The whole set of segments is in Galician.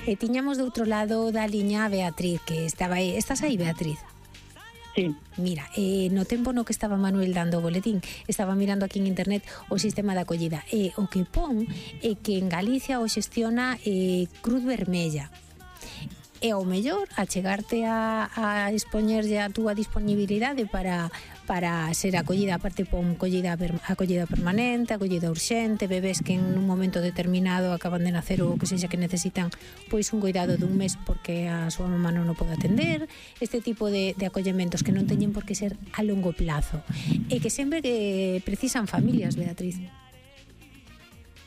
E tiñamos do outro lado da liña a Beatriz, que estaba aí. Estás aí, Beatriz? Sí. Mira, no tempo no que estaba Manuel dando o boletín, estaba mirando aquí en internet o sistema de acollida. O que pon é que en Galicia o xestiona Cruz Vermella. E ao mellor achegarte a expoñerlle a túa disponibilidade para ser acollida, aparte pon acollida permanente, acollida urxente, bebés que en un momento determinado acaban de nacer ou que sexa que necesitan pois un cuidado dun mes porque a súa mamá non o pode atender, este tipo de acollementos que non teñen por que ser a longo plazo e que sempre que precisan familias, Beatriz.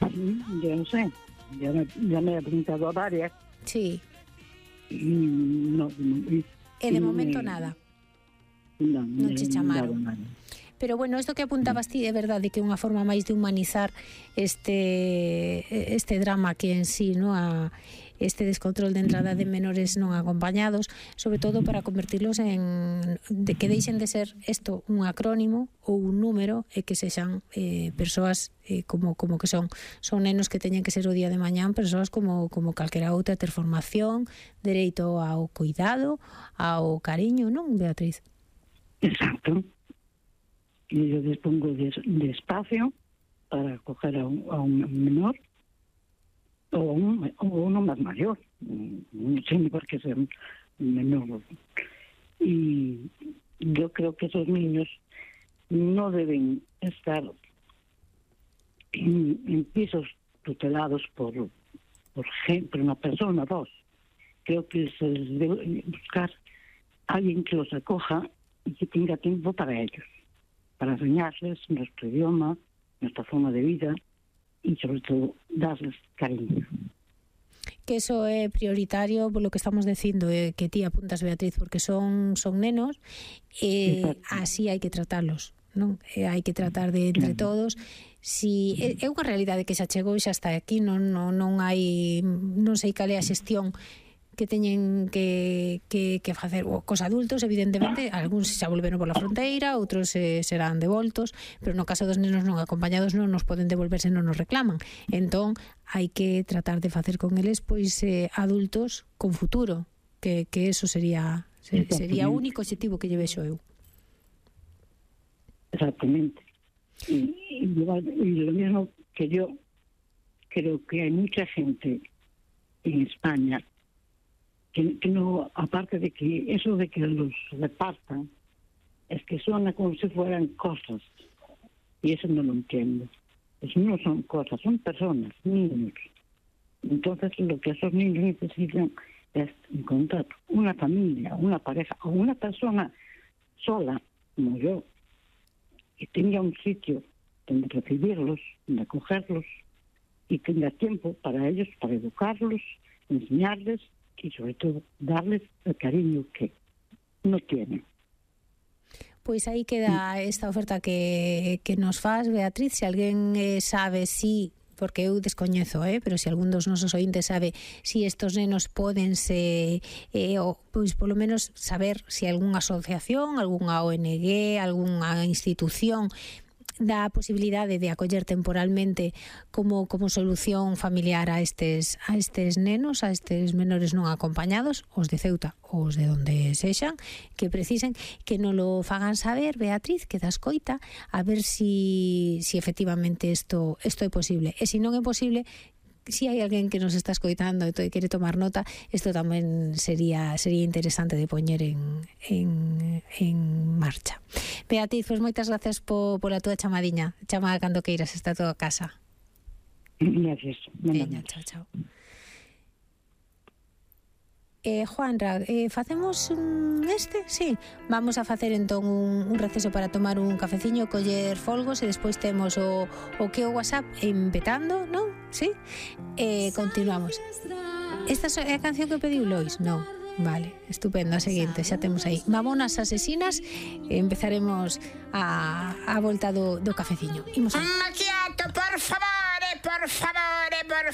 Yo non sei, ya me he apuntado a varias. Sí. No, e de momento nada. Non che chamaron. Pero bueno, isto que apuntabas ti é verdade que é unha forma máis de humanizar este drama que en sí, no, este descontrol de entrada de menores non acompañados, sobre todo para convertirlos de que deixen de ser isto un acrónimo ou un número e que sexan persoas como que son nenos que teñen que ser o día de mañán, persoas como calquera outra, ter formación, dereito ao cuidado, ao cariño, non, Beatriz? Exacto. Y yo dispongo de espacio para acoger a un menor o uno más mayor, no tiene por qué ser un menor. Y yo creo que esos niños no deben estar en pisos tutelados por una persona, dos. Creo que se les debe buscar alguien que los acoja y que tenga tiempo para ellos, para enseñarles nuestro idioma, nuestra forma de vida y sobre todo darles cariño. Que eso é prioritario por lo que estamos dicindo, que ti apuntas, Beatriz, porque son nenos e así hai que tratarlos, non? Hai que tratar de entre todos. Si é unha realidade que xa chegou e xa está aquí, non sei cal é a xestión que teñen que facer cos adultos, evidentemente, algúns xa volveron por la fronteira, outros serán devoltos, pero no caso dos nenos non acompañados non nos poden devolver se non nos reclaman. Entón, hai que tratar de facer con eles pois adultos con futuro, que eso sería o único objetivo que lle vexo eu. Exactamente. Y lo mismo que yo creo que hay mucha gente en España que no, aparte de que eso de que los repartan, es que suena como si fueran cosas, y eso no lo entiendo. Eso no son cosas, son personas, niños. Entonces lo que esos niños necesitan es encontrar una familia, una pareja o una persona sola, como yo, que tenga un sitio donde recibirlos, donde acogerlos y tenga tiempo para ellos, para educarlos, enseñarles y sobre todo darles el cariño que no tienen. Pois aí queda esta oferta que nos faz, Beatriz. Se alguén sabe porque eu descoñezo, pero se algún dos nosos ointes sabe si estos nenos pódense, pois polo menos saber se algunha asociación, algunha ONG, algunha institución dá a posibilidade de acoller temporalmente como solución familiar a estes nenos, a estes menores non acompañados, os de Ceuta ou os de onde sexan, que precisen, que non lo fagan saber, Beatriz, que da escoita, a ver si efectivamente isto é posible. E se non é posible, si hai alguén que nos está escoitando e quere tomar nota, isto tamén sería interesante de poñer en marcha. Beatriz, pois moitas gracias pola túa chamadiña. Chama cando queiras, está toda a casa. Gracias. Veña, chao. Juanra, facemos sí, vamos a facer entón un receso para tomar un cafeciño, coller folgos e despois temos o que o WhatsApp empetando, non? Sí? Continuamos. Esta é a canción que pediu Lois? Non. Vale, estupendo, a seguinte, xa temos aí Mamonas Asesinas e empezaremos a volta do cafeciño. Imos a... Macchiato, por favore,